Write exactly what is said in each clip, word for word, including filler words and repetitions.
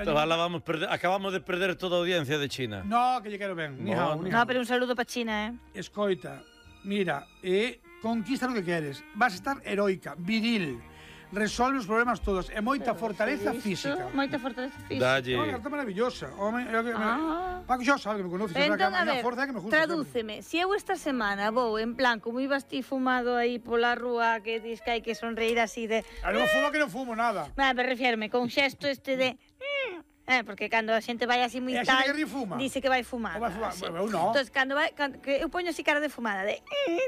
Vamos perder, acabamos de perder toda a audiencia de China. No, que lle quero ben. Ni hao, ni hao. No, pero un saludo para China, eh. Escoita, mira, eh, conquista lo que queres. Vas a estar heroica, viril. Resolve os problemas todos. E moita Pero, fortaleza ¿visto? física. Moita fortaleza física. Dalle. É unha carta maravillosa. Home, é o que Ah. Paco xa sabe que me conoces, Entón, entón, a a miña ver, forza é que me gusta. tradúceme. Se eu esta semana vou en plan como ibas ti fumado aí pola rúa que dis que hai que sonreír así de... A non fumo que non fumo nada. Ah, me refierme con xesto este de... Eh, porque cando a xente vai así moi E a tal, xente que ri fuma. dice que vai fumar. Ou vai fumar, Sí. eu non. Entón, cando vai, cando, que eu poño así cara de fumada, de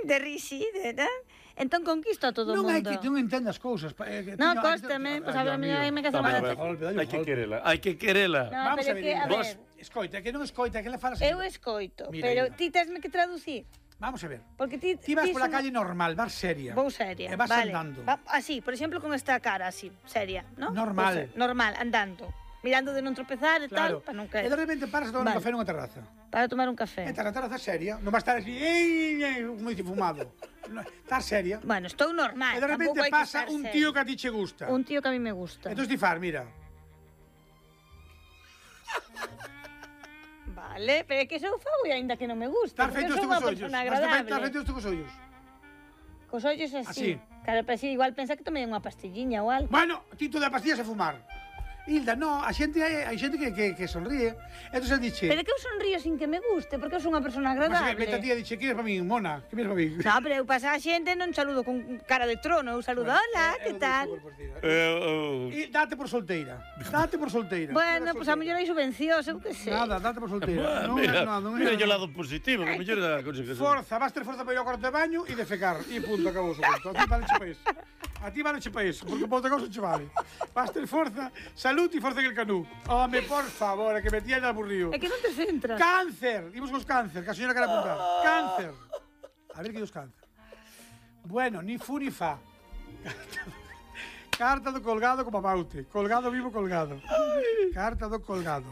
de risi, de, de entón conquisto a todo o Non mundo. hai que non entendas cousas. Eh, No, cóstame, pois a ver, a mí hai que hacer Vamos a mal. ver, Golpe, dalle un hai que golpe. querela, hai que querela. No, Vamos pero a ver, que, a vos, ver, escoita, que non escoita, que le falas. eu escoito, Mira, pero Hilda. ti tesme que traducir. Vamos a ver. Porque ti, Ti vas ti pola son- calle normal, vas seria. Vou seria, E vas vale. andando. Va, así, por exemplo, con esta cara así, seria, ¿no? Normal. Pues, normal, andando. Mirando de non tropezar e Claro. tal, para non E caer. de repente paras a tomar un Vale. café nunha terraza. Para tomar un café. E na terraza seria, non vas estar así, ei, ei, como dice fumado. No, estás seria. Bueno, estou normal. E de repente tampouco hai que pasa estar un seria. tío que a ti che gusta. Un tío que a mí me gusta. Entón ti far, mira. Vale, pero é que sou fago e aínda que non me gusta. Estás porque feito sou estes unha cos ollos. persona Estás agradable. feito estes cos ollos. Cos ollos Así. así. Claro, pero así igual pensa que tomei unha pastilliña ou algo. Bueno, ti tú de pastillas a fumar. Hilda, no, a xente hai, hai xente que, que, que sonríe. Entón el diche, Pero é que eu sonrío sin que me guste, porque eu sou unha persona mas que agradable. vete a ti e diche, que eres para min, mona, que eres para min. No, pero eu pasa a xente non saludo con cara de trono, eu saludo, hola, que tal? Eh, E date por solteira. Date por solteira. Bueno, pois pues a mellor hai subvencións, eu que sei. Nada, date por solteira. oh, Non é- mira, no, non é- mira yo o lado positivo, que mellor é a cousa que son. Forza, vas ter forza para ir ao cuarto de baño e defecar. E punto, acabou o conto. A ti vale che pa iso. A ti vale che pa iso, porque por outra cousa che vale. Vas ter forza, salud e forza en el canú. Home, por favor, é que me tía aburrido. É que non te centras. Cáncer, imos cos cáncer, que a señora quere apuntar. Cáncer. A ver que dos cáncer. Bueno, ni fu ni fa. Carta do colgado como Maute. Colgado vivo colgado. Carta do colgado.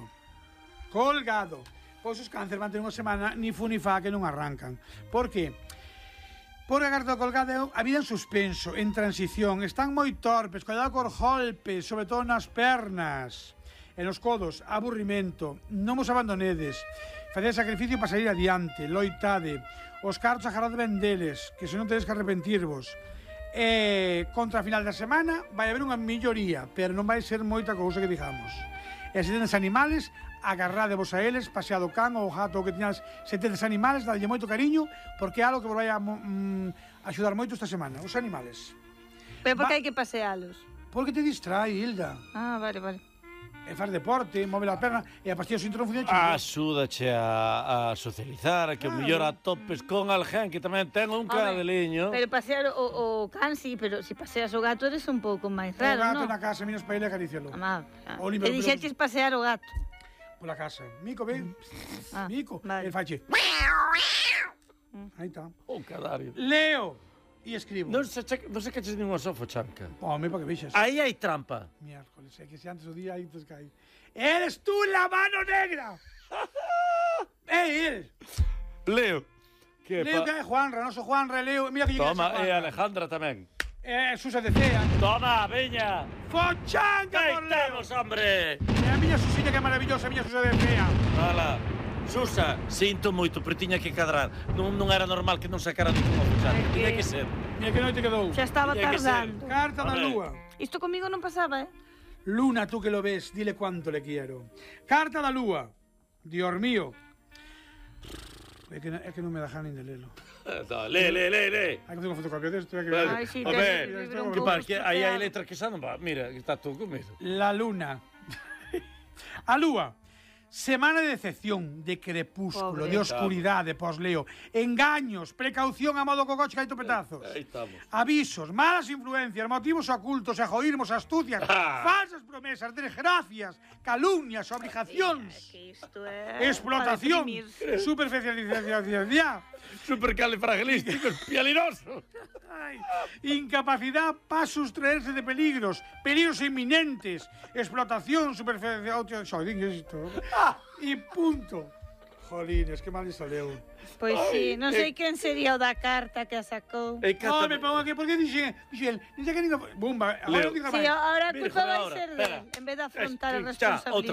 Colgado. Pois os cáncer van ter unha semana ni fu ni fa que non arrancan. Por que? Porque a carta do colgado é a vida en suspenso, en transición. Están moi torpes, cuidado cos golpes, sobre todo nas pernas. E nos codos, aburrimento, non vos abandonedes, faced sacrificio para salir adiante, loitade, os cartos agarrade ben deles, que se non tedes que arrepentirvos. E contra a final da semana vai haber unha melloría, pero non vai ser moita cousa que digamos. E se tedes animales, agarradevos a eles, paseado can ou gato ou que tiñas, se tedes animales, dadlle moito cariño, porque é algo que vos vai a mm, axudar moito esta semana, os animales. Pero por Va- que hai que pasealos? Porque te distrai, Hilda. Ah, vale, vale. E faz deporte, move a perna e a pastilla sinto non funciona. Axúdache a, a socializar, a que o mellor atopes con alguén que tamén ten un cadeliño. Pero pasear o, o can, sí, pero se si paseas o gato eres un pouco máis O raro, gato non? na casa, miras para ele e acarícialo. Amá, O e limpio dixeches pasear o gato. Pola casa. Mico, ven. Ah, Mico. vale. El fache. Aí está. Un cadario. Leo e escribo. Non se, che, non se caches nin unha sofo, chanca. Home, para que vexas. Aí hai trampa. Miércoles, é que se antes o día aí te cae. Eres tú la mano negra. É el. Leo. Que Leo que é pa... Juanra, noso Juanra, Leo. Mira que lle Toma, queres e a Juanra. Alejandra tamén. É Susa de Cea. Toma, veña. Fochanga por Leo. Deitamos, hombre. E a miña Susiña que é maravillosa, a miña Susa de Cea. Hala. Susa, sinto moito, pero tiña que cadrar. Non, non era normal que non sacara ningún oficial. É que- Tiña que ser. Mira que noite quedou. Xa estaba Tiña que ser. tardando. Carta da Hombre. lúa. Isto comigo non pasaba, eh? Luna, tú que lo ves, dile cuánto le quiero. Carta da lúa. Dios mío. É que, é que non me dejan nin de lelo. No, le, le, le, le. Hai que facer unha fotocopia desto. Hai que Vale. Ai, sí, Home, tes o libro un que pouco par, que aí hai estropeado. letras que xa non va. Mira, que está todo comido. La luna. A lúa. Semana de decepción, de crepúsculo, Pobre. de oscuridade, posleo, engaños, precaución a modo cocoche que hai topetazos. Aí estamos. Avisos, malas influencias, motivos ocultos, egoísmos, astucias, Ah. falsas promesas, desgracias, calumnias, obligacións, É que isto é... explotación, para deprimirse. superficialización, Supercalifragilísticos, pialinosos. ay, incapacidad para sustraerse de peligros, peligros inminentes, explotación, superficialización, xodín, que é isto? E punto. Jolines, que mal lle saleu. Pois sí, non sei quen sería o da carta que a sacou. E No, me pongo aquí, porque dixe, Miguel, dixe que ninguén... Bumba, agora Leo. non diga Sí, máis. ahora a Mira, culpa vai ahora, ser espera. del, en vez de afrontar a Xa, outra responsabilidade.